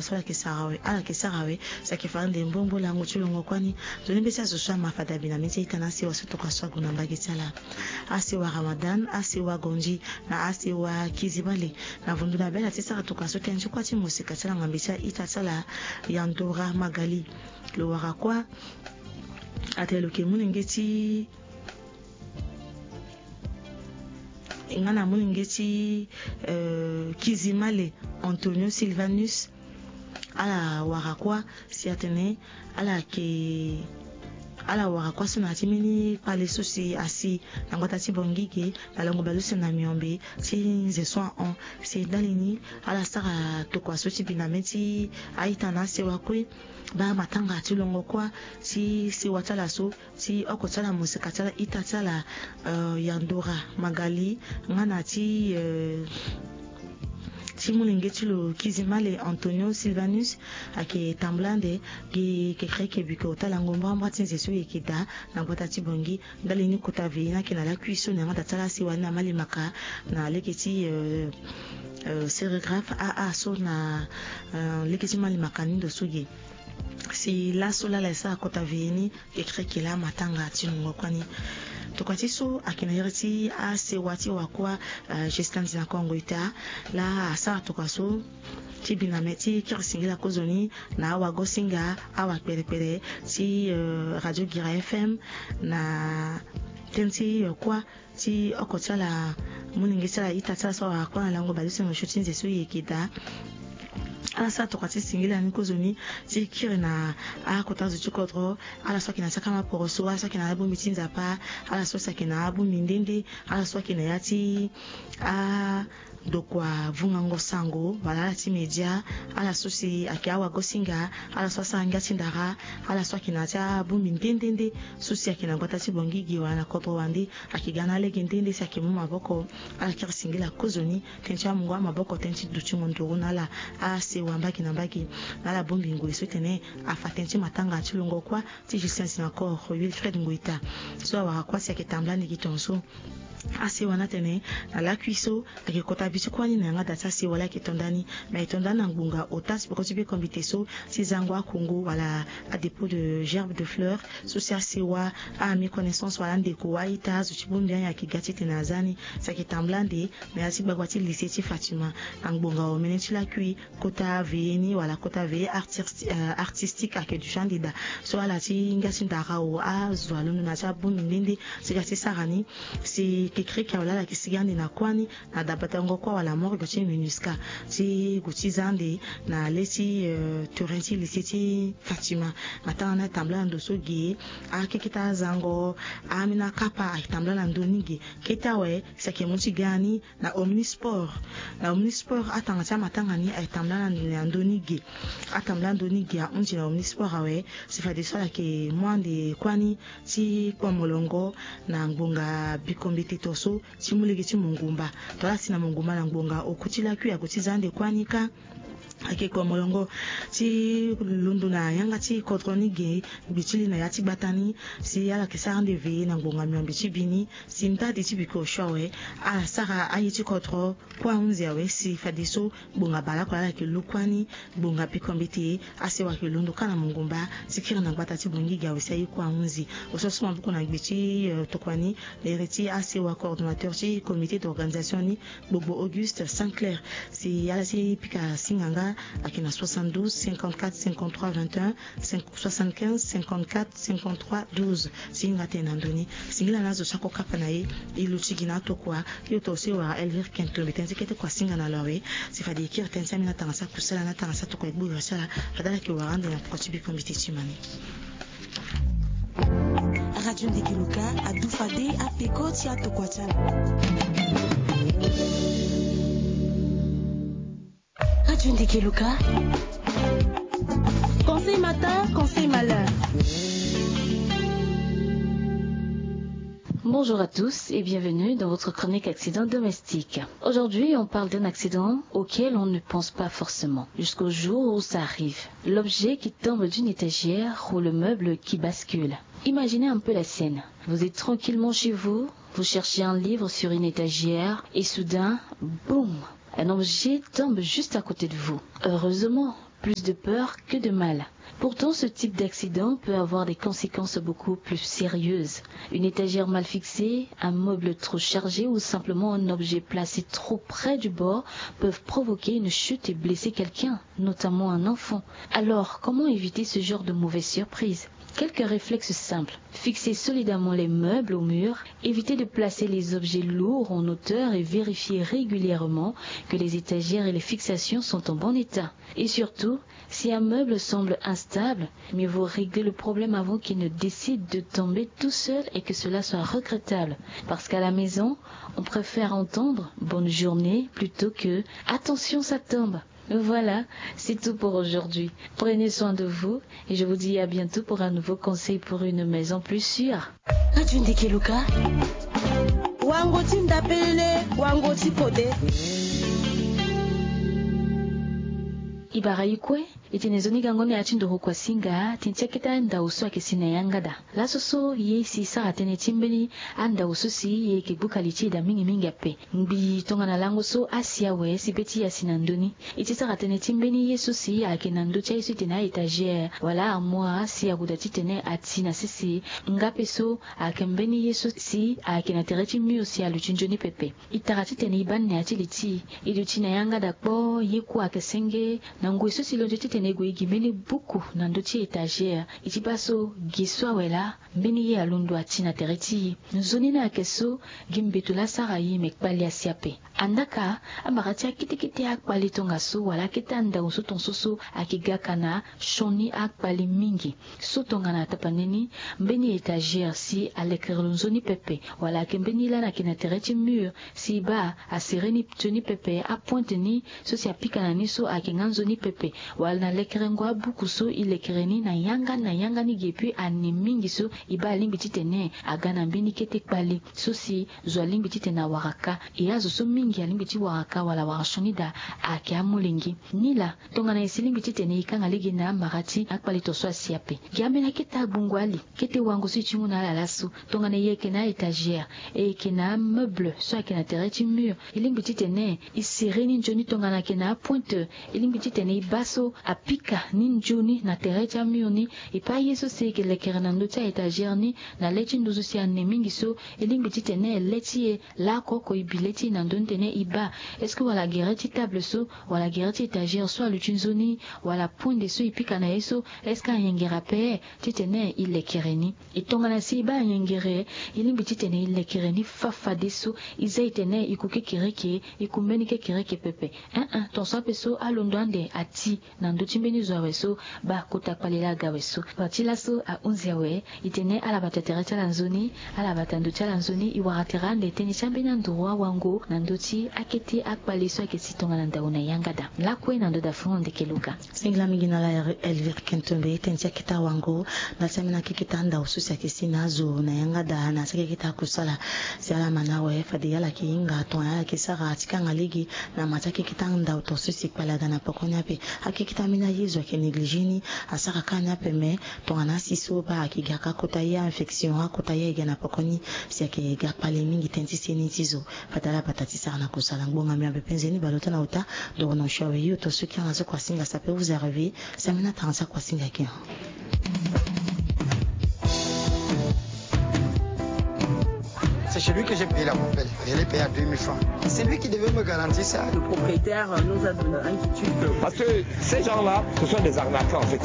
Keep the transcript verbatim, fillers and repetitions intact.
so ala yeke sara awe, ala yeke sara awe. Si ayeke fa ande mbombo lango ti longo kuâ ni. Nzoni mbeti azo so ama fade abi na mê ti a-ita na asewa so tokua so ague na mbage ti ala. Asewa Ramadan, asewa Gondji, na asewa Kizimale. Na vundu na be ala ti sara tokua so tënë ti kuâ ti mosika ti ala ngambe ti a-ita ti ala Yandora Magali. Lo wara kuâ atene lo yeke molenge ti nga na molenge ti, euh, Kizimale Antonio Sylvanus. Ala wara kuâ si atene ala yeke, ala wara kuâ so na ya ti mbeni kpale so si asi na ngbata ti Bangui ge na lango bale use na miombe ti nze so ahon. Si ndali ni ala sara tokua so ti bi na mê ti a-ita na asewa kue. Baa matanga ti longo kuâ ti sewa ti ala so ti oko ti ala mosika ti ala ita ti ala, euh, Yandora Magali nga na ti, euh, ti molenge ti lo Kizimale Antonio Sylvanus. Ayeke tambula ande gi kekereke biko ota lango mbrambra ti nze so e yeke daa na ngbata ti Bangui. Ndali ni kota veillée ni ayeke na lakui so na yanga da ti ala asewa ni na Malimaka na lege ti, euh, euh, sérigraphe aa so na, euh, lege ti Malimaka ni ndo so ge. Si laso laa ala e sara kota veillée ni kekereke laa matanga ti nungo kuâ ni. Tokua ti so ayeke na iri ti asewa ti wa kuâ, euh, Justin Dinakongo Ita laa asara tokua so ti bi na mê ti kiri singila kozoni na awagosinga, awakpelepele ti, euh, Radio Guira F M na tënë ti, euh, kuâ ti oko ti ala molenge ti ala ita ti ala so awara kuâ na lango bale use na osio ti nze so e yeke daa. Ala sara tokua ti singila ni kozoni ti kiri na akota zo ti kodro. Ala so ayeke na ti akama poroso, ala so ayeke na abongbi ti nzapa, ala so si ayeke na abongbi nde nde, ala so ayeke na ya ti a dokua vungango sango wala ala ti media, ala so si ayeke awagosinga, ala so asara ngia ti ndara, ala so ayeke na ya ti abongbi nde nde nde so si ayeke na ngbata ti Bangui ge wala na kodro wande, ayeke ga na alege nde nde si ayeke mu maboko. Ala kiri singila kozoni tënë ti amungo amaboko, tënë ti dutingo nduru na ala asewa mbage na mbage na ala bongbi ngoi so tene afa tënë ti matanga ti longo kuâ ti Justin Sinakor Wilfred Ngoita so awara kuâ si ayeke tambula ni gi tongaso. Asewa ni atene na lakui so ayeke kota bi ti kuâ ni na yanga da ti asewa laa ayeke to nda ni. Me ayeke to nda ni na ngbonga ota ti peko ti biko mbete so ti zango akongo wala adépôt de gerbe de fleur so si asewa, améconnaissance wala andeko, a-ita, azo ti bongbi ni ayeke ga titene aza ni. Si ayeke tambula ande na ya ti gbagba ti lycée ti Fatima na ngbonga omene ti lakui. Kota veillée ni wala kota veillée artis-, euh, artistique ayeke duti ande daa. So ala ti ngia ti ndara o azo alondo na ya ti abongbi nde nde ti ga ti sara ni. Si kekereke awe laa ala yeke sigi ande na kuâ ni na dabadango kuâ wala morgue ti MINUSCA ti gue ti za ande na le ti, euh, terrain ti lycée ti Fatima. Matanga ni atambula na ndo so ge. Akeketa azango, ambeni akapa ayeke tambula na ndö ni ge. Kete awe si ayeke mu ti ga ni na Omnisport. Na Omnisport atanga ti amatanga ni ayeke tambula na ndö ni ge. Atambula ndö ni ge ahunzi na Omnisport awe. Si fadeso ala yeke mu ande kuâ ni ti kpo molongo na ngbonga biko mbete to so ti mu lege ti mongumba. To ala si na mongumba na ngbonga oku ti lakui ague ti za ande kuâ ni kâ. Ayeke kpo molongo ti londo na yanga ti kodro ni ge, gbe ti li na ya ti gbata ni. Si ala yeke sara ande veillée na ngbonga miombe ti bi ni. Si ndade ti biko osio awe ala sara aye ti kodro kuâ ahunzi awe. Si fadeso ngbonga bale oko laa ala yeke lu kuâ ni, ngbonga biko mbete, asewa ayeke londo kâ na mongumba ti kiri na gbata ti Bangui ge awe si aye kuâ ahunzi. Osio so maboko na gbe ti, euh, tokua ni, na iri ti asewa coordonnateur ti comité d'organisation ni, Gbogbo Auguste Saint-Clair. Si ala ti pika singa nga ayeke na soixante-douze cinquante-quatre cinquante-trois vingt et un, cinq, soixante-quinze cinquante-quatre cinquante-trois douze. Si hinga tene na ndö ni. Singila na azo so ako kapa na e, e luti gi na atokua. Yo to so e wara Elvire Kento mbi tënë ti kete kua singa na lo awe. Si fade e kiri tënë ti ambeni atanga ti akusala na atanga ti atokua e gbu iri ti ala. Fade ala yeke wara ande na peko ti biko mbete ti ma ni. Radio Ndeke Luka adu fade apeko ti atokua ti ala. Radio Ndeke Luka. Conseil matin, conseil malheur. Bonjour à tous et bienvenue dans votre chronique accident domestique. Aujourd'hui, on parle d'un accident auquel on ne pense pas forcément, jusqu'au jour où ça arrive. L'objet qui tombe d'une étagère ou le meuble qui bascule. Imaginez un peu la scène. Vous êtes tranquillement chez vous, vous cherchez un livre sur une étagère et soudain, boum, un objet tombe juste à côté de vous. Heureusement, Plus de peur que de mal. Pourtant, ce type d'accident peut avoir des conséquences beaucoup plus sérieuses. Une étagère mal fixée, un meuble trop chargé ou simplement un objet placé trop près du bord peuvent provoquer une chute et blesser quelqu'un, notamment un enfant. Alors, comment éviter ce genre de mauvaise surprise ? Quelques réflexes simples. Fixez solidement les meubles au mur, évitez de placer les objets lourds en hauteur et vérifiez régulièrement que les étagères et les fixations sont en bon état. Et surtout, si un meuble semble instable, mieux vaut régler le problème avant qu'il ne décide de tomber tout seul et que cela soit regrettable. Parce qu'à la maison, on préfère entendre bonne journée plutôt que attention, ça tombe. Voilà, c'est tout pour aujourd'hui. Prenez soin de vous et je vous dis à bientôt pour un nouveau conseil pour une maison plus sûre. Radio Ndeke Luka. Wango ti ndapelele, wango ti kode. Ibara ikue, itene zoni gango ni ati nduru kwa singa, tinti aketa ndau so ake si na yangada. Laso so ye si sara tene ti mbeni andau so si ye ke buka li ti eda mingi mingi ape. Ngbi tongana lango so asi awe si be ti asi na ndoni. Iti sara tene ti mbeni ye so si ayeke na ndö ti aye so itene a-étagère wala armoire si aguda titene ati na sese. Nga pe so ayeke mbeni ye so si ayeke na tere ti mur si aluti nzoni pepe. I tara titene i baa nea ti li ti i, i duti na yanga daa kpoo, ye kue ayeke senge. Na ngoi so si lo nzoni titene i gue i gi mbeni buku na ndö ti étagère, i ti baa so gi so awe laa mbeni ye alondo ati na tere ti i. Nzoni ni ayeke so gi mbeto laa asara i me kpali asi ape. Andaka, amara ti akete kete akpali tongaso wala akete andau so tongaso so ayeke ga ka na sioni akpali mingi. So tongana tapande ni, mbeni étagère si alekere lo nzoni pepe, wala ayeke mbeni lani ayeke na tere ti mur si i baa asere ni nzoni pepe, apointe ni so si apika na ni so ayeke nga nzoni pepe, wala na lekerengo abuku so i lekere ni na yanga ni na yanga ni ge, epui ane mingi so i baa alingbi titene aga na mbeni kete kpali so si zo alingbi titene awara kâ. E azo so mingi alingbi ti wara kâ wala awara sioni daa ayeke amolenge. Nilaa, tongana e si lingbi titene e kanga lege na amara ti akpali tongaso asi ape, gi ambeni akete agbungu ali, kete wango so e ti mu na ala laso. Tongana e yeke na a-étagère, e yeke na ameuble so ayeke na tere ti mur, e lingbi titene e sere ni nzoni. Tongana ayeke na apointe, e lingbi titene e baa so apika ni nzoni na tere ti amur ni. E pe aye so si e yeke lekere na ndö ti a-étagère ni na le ti nduzu si ane mingi so, e lingbi titene le ti e laoko oko e bi le ti e na ndö ni titene e baa est-ce que wala gere ti table so, wala gere ti étagère so aluti nzoni, wala poinde so e pika na ye so, est-ce que ayengere ape titene e lekere ni. E tongana si e baa ayengere, e lingbi titene e lekere ni fafadeso. E za e tene e ku kekereke, e ku mbeni kekereke pepe. Ein ein, tongaso ape so alondo ande ati na ndö ti mbeni zo awe so, baa kota kpali laa aga awe so. Parti laso ahunzi awe. E tene ala bata tere ti ala nzoni, ala bata ndo ti ala nzoni. E wara tere ande tënë ti ambeni anduru awango na ndö ti akete akpali so ayeke si tongana ndau na yanga daa. Lakue na ndo daa funu ndeke Luka. Singila mingi na ala Elvire Kentombe, tënë ti akete awango na ti ambeni akekete andau so si ayeke si na azo na yanga daa na ti akekete akusala. Si ala ma na awe fade ala yeke hinga tongana ala yeke sara ti kanga lege na ma ti akekete andau tongaso si kpali aga na pekoni ape. Akekete ambeni aye zo ayeke négligé ni, asara kâ ni ape, me tongana asi so baa ayeke ga kâ kota ye, a-infection akota ye ayeke ga na pekoni, si ayeke ga kpali mingi tënë ti seni ti zo. Fade ala bata ti sara na kusala. Ngbonga mbi ape nzeni baleota na ota. Ndoro na osio awe yo tongaso ki ala so kua singa si ape vous arriver. Si ambeni atanga ti akua singa ayeke. C'est chez lui que j'ai payé la poubelle. Je l'ai payé à deux mille francs. C'est lui qui devait me garantir ça. Le propriétaire, euh, nous a donné un quitus. Parce que ces gens-là, ce sont des arnaqueurs en fait.